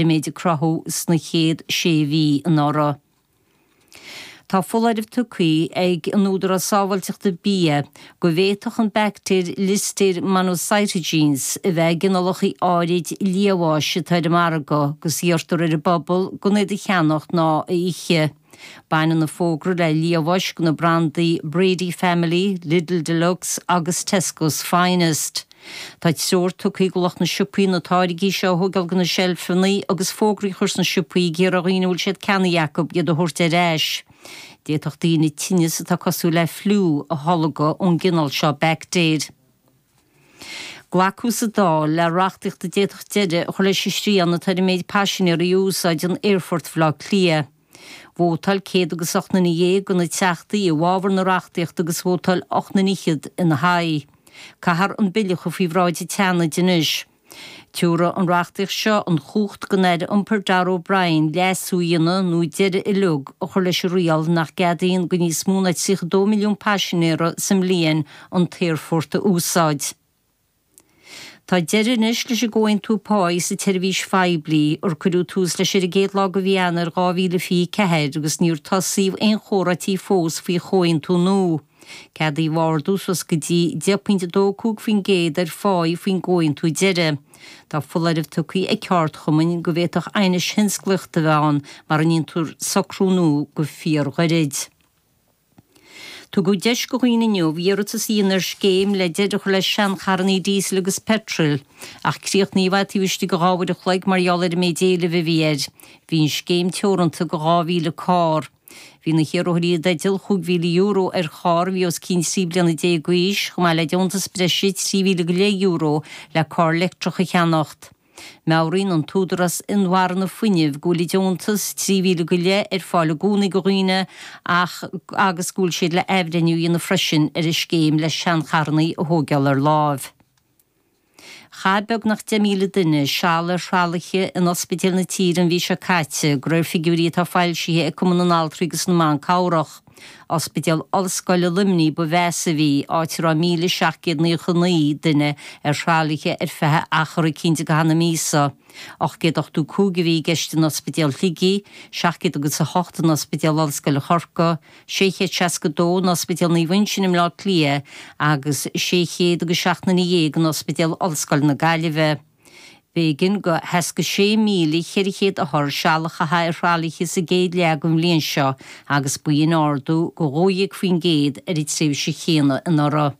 an méid a cruthú sna chéad sé mhí anuraidh. Tá foláireamh tugtha ag an Údarás Sábháilteachta Bia go bhféadfadh an baictéar Listeria monocytogenes a bheith i gcineálacha áirid liamháis atá ar an margadh agus iarrtar ar an bpobal gan iad a cheannacht ná a ithe. Baineann an fógra le liamháis de na brandaí Brady Family, Lidl Deluxe agus Tesco's Finest. Tá treoir tugtha do lucht na siopaí na táirgí seo a thógáil de na seilfeanna agus fógraí a chur sna siopaí ag iarraidh ar dhaoine a bhfuil siad ceannaithe acu iad a thabhairt ar ais. D'fhéadfadh daoine tinneas atá cosúil le fliú a tholgadh ón gcineál seo baictéir. Glacadh sa Dáil le reachtaíocht a d'fhéadfadh deireadh a chur leis an srian atá ar an méid paisinéirí a úsáideann Aerfort Bhaile Átha Cliath. Vótáil céad agus 18 nduine de na teachtaí i bhfabhar na reachtaíochta agus vótáil 18 nduine ina haghaidh. Caithfear an bille a chur faoi bhráid an tSeanaid anois. Tabharfaidh an reachtaíocht seo an chumhacht don Aire Iompair Darragh O'Brien leasú a dhéanamh nó deireadh uileag a chur leis an riail nach gceadaíonn do níos mó ná 32 milliún paisinéara sa mbliain an t-aerfort a úsáid. Tá deireadh anois leis an gcomhaontú páí sa tseirbhís phoiblí, ar cuireadh tús leis ar an gcéad lá de mhí Eanáir 2024 agus níor tosaíodh aon chomhráití fós faoi chomhaontú nua. Ceadaíodh ardú suas go dtí 10.25% ar pháí faoin gcomhaontú deiridh. Tá foláireamh tugtha ag ceardchumainn go bhféadfadh aighnis thionsclaíochta a bheith ann mara ndéantar socrú nua go fíorghairid. Tugadh deis do dhaoine inniu iarratas a dhéanamh ar scéim le deireadh a chur le seancharrannaí díosail agus peitril, ach críochnaíodh é taobh istigh de 2 uair an chloig mar gheall ar an méid éilimh a bhí air. Bhí an scéim teoranta do 2,000 carr. Bhí na hiarrthóirí i dteideal €5,000 ar charr a bhí os cionn 13 bliana d'aois, chomh maith le deontas breise €13,500 le carr leictreach a cheannacht. Meabhraíonn an tÚdarás Inmharthana Fuinnimh go bhfuil an deontas 3,000 go leith ar fáil i gcónaí do dhaoine ach agus go bhfuil siad le athbhreithniú a dhéanamh freisin ar an scéim le seancharrannaí a thóigeáil ar láimh. Chaith beagnach 10,000 duine seal ar thralaithe in ospidéil na tíre an mhí seo caite, de réir figiúirí atá foilsithe ag Cumann na nAltraí agus na mBan Cabhrach. Ospidéal Ollscoile Luimnigh ba mheasa a bhí, áit a raibh 1,799 duine ar thralaithe ar feadh achar eicínt i gcaitheamh na míosa. 885 a bhí i gceist in Ospidéal Shligigh, 700 agus 8 in Ospidéal Ollscoile Chorcaí, 662 in Ospidéal Naomh Uinseann i mBleá Cliath agus 600 agus 17 nduine in Ospidéal Ollscoile na Gaillimhe. B'éigean do 66,400 othar seal a chaitheamh ar thralaithe sa gcéad leath den bhliain seo agus ba shin ardú de 12% ar an tréimhse chéanna anuraidh.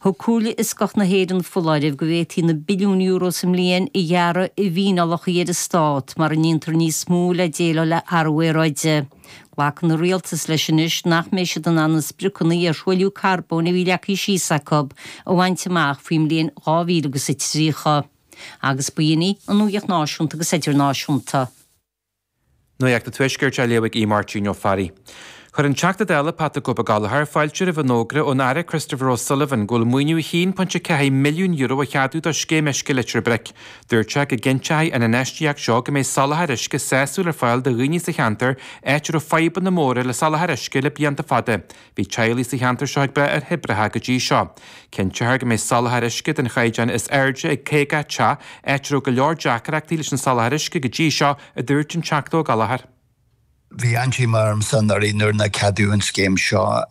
Thug Comhairle Fhioscach na hÉireann foláireamh go bhféadfaí na billiúin euro sa mbliain a ghearradh i bhfíneálacha ar an stát mara ndéantar níos mó le déileáil le hathrú aeráide. Glacann an rialtas leis anois nach mbeidh siad in ann na spriocanna ar thruailliú carbóin a bhí leagtha síos acu a bhaint amach faoin mbliain 2030. Agus ba shin í an nuacht náisiúnta agus idirnáisiúnta. Nuacht an Tuaiscirt á léamh ag Aodh Máirtín Ó Fearraigh. Chuir an Teachta Dála Pat 'The Cope Gallagher fáilte roimh an fhógra ón Aire Christopher O'Sullivan go bhfuil maoiniú €1.4 milliún a cheadú do Scéim Uisce Leitir Bric. Dúirt sé go gcinnteoidh an infheistíocht seo go mbeidh soláthar uisce sásúil ar fáil do dhaoine sa cheantar, áit a raibh fadhbanna móra le soláthar uisce le blianta fada. Bhí teaghlaigh sa cheantar seo ag brath ar thoibreacha go dtí seo. Cinnteofar go mbeidh soláthar uisce den chaighdeán is airde ag 50 teach, áit a raibh go leor deacrachtaí leis an soláthar uisce go dtí seo, a dúirt an Teachta Ó Gallchóir. Bhí an-díomá ormsa anuraidh nuair nár ceadaíodh an scéim seo.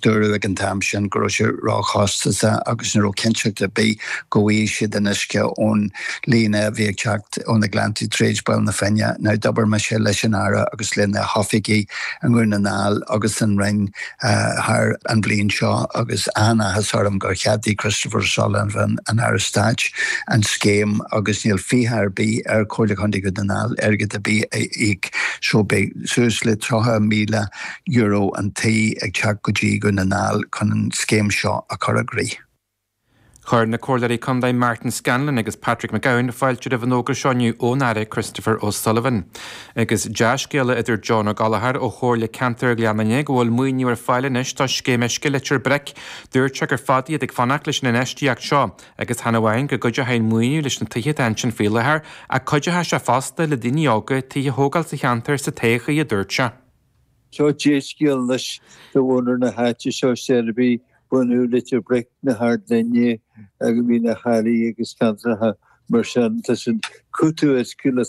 Dúradh ag an t-am sin go raibh sé róchostasach agus ní raibh cinnteacht ar bith go bhfaighidh siad an uisce ón líne a bhí ag teacht ó na Gleanntaí tríd Baile na Finne. Now d'obair mise leis an Aire agus lena hoifigigh i nDún na nGall agus san Roinn thar an bhliain seo agus an-áthas orm gur cheadaigh Christopher O'Sullivan, an Aire Stáit, an scéim agus níl fiacha ar bith ar Chomhairle Chontae Dhún na nGall airgead ar bith a íoc so beidh suas le €30,000 an tí ag teacht go dtí Dhún na nGall chun an scéim seo a chur i gcrích. Chuir na Comhairleoirí Contae Martin Scanlon agus Patrick McGowan fáilte roimh an fhógra seo inniu ón Aire Christopher O'Sullivan. Agus dea-scéala a dúirt John Ó Gallchóir ó Chomhairle Ceantair Ghleann Fhinne go bhfuil maoiniú ar fáil anois do Scéim Uisce Leitir Bric. Dúirt sé gur fada iad ag fanacht leis an infheistíocht seo agus chan amháin go gcuideoidh an maoiniú leis na tithe atá ansin faoi láthair ach cuideoidh sé fosta le daoine óga tithe a thógáil sa cheantar sa todhchaí, a dúirt sé. Seo dea-scéal anois do mhuintir na háite seo, Seirby, bunú Leitir Bric, na hArd Fhinne, Mín an Charraigh agus ceantracha. Mar sin, tá siad cúiteamh uisce le.